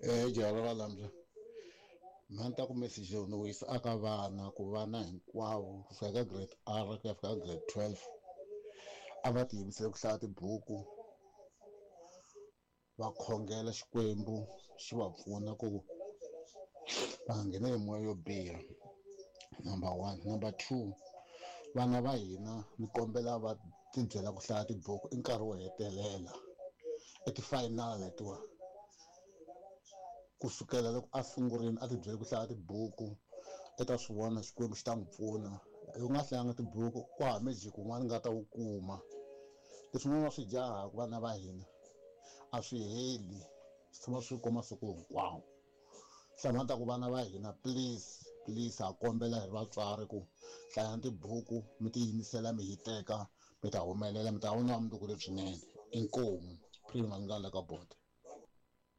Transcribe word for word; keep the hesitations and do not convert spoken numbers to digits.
Eh jara va lamza. Mina ni ta ku message lowu ni wu yisa aka vana ku vana hinkwavo kusuka ka grade R ku ya fika ka grade twelve a va tiyimisele ku hlaya tibuku va khongela Xikwembu xi va pfuna ku va nga ngheni hi moya yo biha number one number two vana va hina ni kombela va tibyela ku hlaya tibuku i nkarhi wo hetelela i ti-final letiwa kusukela loko a sungurile a tibyele ku hlaya tibuku i ta swi vona Xikwembu xi ta n'wi pfuna loko u nga hlayanga tibuku ku hava magic wun'wana nga ta wu kuma leswin'wana va swi jahaka vana va hina a swi heli swi tshama swi kona masiku hinkwawo hlamula ta ku vana va hina please please ha kombela hi vatswari ku hlayani tibuku mi tiyimisela mi hiteka mi ta humelela mi ta vona vumundzuku lebyinene inkomu prima nga le ka board.